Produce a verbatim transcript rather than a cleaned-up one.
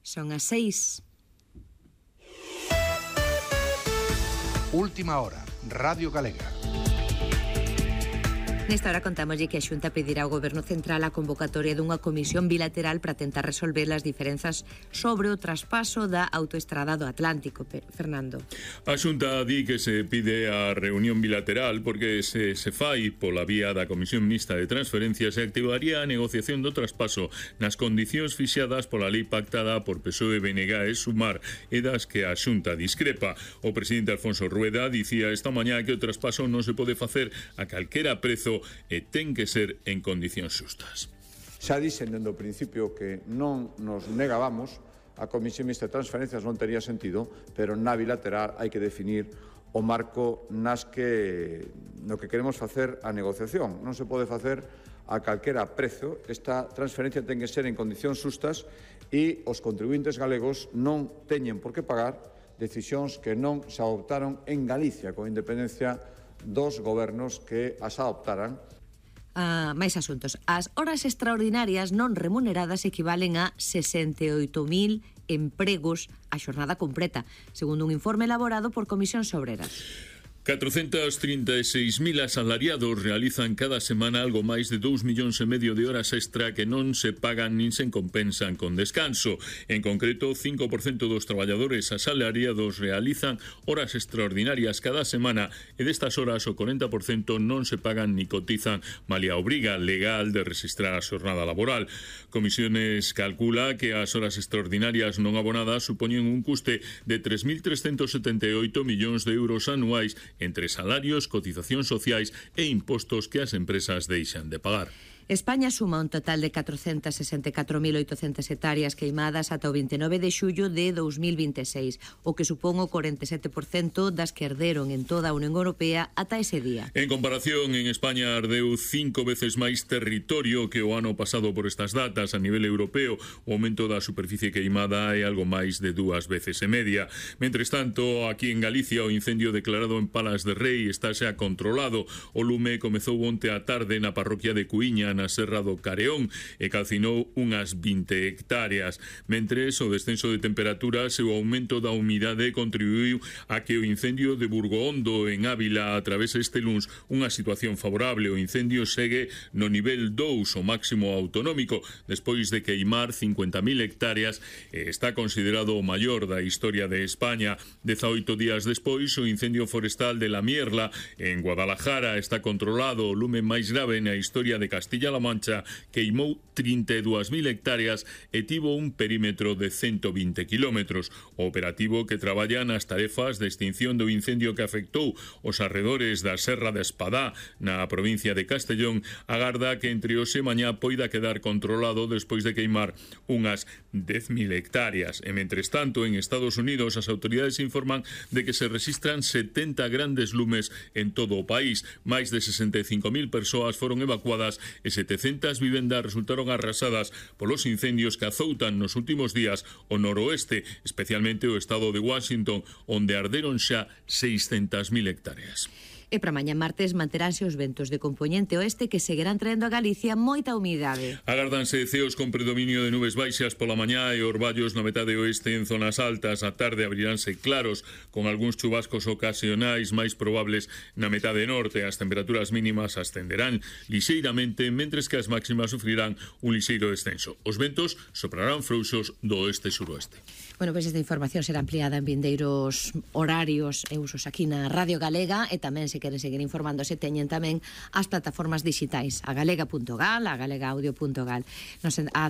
Son as seis. Última hora, Radio Galega. Nesta hora contámoslle que a Xunta pedirá ao Goberno Central a convocatoria dunha comisión bilateral para tentar resolver as diferenzas sobre o traspaso da autoestrada do Atlántico. Fernando. A Xunta di que se pide a reunión bilateral porque se, se fai pola vía da Comisión Mixta de Transferencias e activaría a negociación do traspaso nas condicións fixadas pola lei pactada por P S O E, B N G e Sumar e das que a Xunta discrepa. O presidente Alfonso Rueda dicía esta mañá que o traspaso non se pode facer a calquera prezo e ten que ser en condicións xustas. Xa dixen dende o principio que non nos negábamos, a Comisión Mixta de Transferencias non tería sentido, pero na bilateral hai que definir o marco nas que no que queremos facer a negociación. Non se pode facer a calquera prezo. Esta transferencia ten que ser en condicións xustas e os contribuintes galegos non teñen por que pagar decisións que non se adoptaron en Galicia con independencia dos gobernos que as adoptaran. Ah, máis asuntos. As horas extraordinarias non remuneradas equivalen a sesenta e oito mil empregos a xornada completa, segundo un informe elaborado por Comisións Obreras. catrocentos trinta e seis mil asalariados realizan cada semana algo máis de dous millóns e medio de horas extra que non se pagan nin se compensan con descanso. En concreto, cinco por cento dos traballadores asalariados realizan horas extraordinarias cada semana e destas horas o corenta por cento non se pagan ni cotizan malia a obriga legal de registrar a xornada laboral. Comisiones calcula que as horas extraordinarias non abonadas supoñen un custe de tres mil trescentos setenta e oito millóns de euros anuais entre salarios, cotizacións sociais e impostos que as empresas deixan de pagar. España suma un total de catrocentas sesenta e catro mil oitocentas hectáreas queimadas ata o vinte e nove de xullo de dous mil vinte e seis, o que supón o corenta e sete por cento das que arderon en toda a Unión Europea ata ese día. En comparación, en España ardeu cinco veces máis territorio que o ano pasado por estas datas. A nivel europeo, o aumento da superficie queimada é algo máis de dúas veces e media. Mentres tanto, aquí en Galicia, o incendio declarado en Palas de Rei está xa controlado. O lume comezou onte á tarde na parroquia de Cuíña, na Serra do Careón, e calcinou unhas vinte hectáreas. Mentres, o descenso de temperaturas e o aumento da humidade contribuiu a que o incendio de Burgohondo en Ávila atravese este luns unha situación favorable. O incendio segue no nivel dous, o máximo autonómico, despois de queimar cincuenta mil hectáreas e está considerado o maior da historia de España. dezaoito días despois, o incendio forestal de La Mierla en Guadalajara está controlado. O lume máis grave na historia de Castilla-La Mancha queimou trinta e dúas mil hectáreas e tivo un perímetro de ciento vinte kilómetros. O operativo que traballa nas tarefas de extinción do incendio que afectou os arredores da Serra de Espadá na provincia de Castellón agarda que entre hoxe e mañá poida quedar controlado despois de queimar unhas dez mil hectáreas. E mentres tanto, en Estados Unidos as autoridades informan de que se registran setenta grandes lumes en todo o país. Máis de sesenta e cinco mil persoas foron evacuadas e setecentas vivendas resultaron arrasadas polos incendios que azoutan nos últimos días o noroeste, especialmente o estado de Washington, onde arderon xa seiscentas mil hectáreas. E para mañá martes manteránse os ventos de compoñente oeste que seguirán traendo a Galicia moita humidade. Agárdanse ceos con predominio de nubes baixas pola mañá e orballos na metade oeste en zonas altas. A tarde abriránse claros con algúns chubascos ocasionais máis probables na metade norte. As temperaturas mínimas ascenderán lixeiramente, mentres que as máximas sufrirán un lixeiro descenso. Os ventos soprarán frouxos do oeste-suroeste. Bueno, pois esta información será ampliada en vindeiros horarios e usos aquí na Radio Galega, e tamén se queren seguir informándose teñen tamén as plataformas digitais, a galega punto gal, a galega audio punto gal. Nos a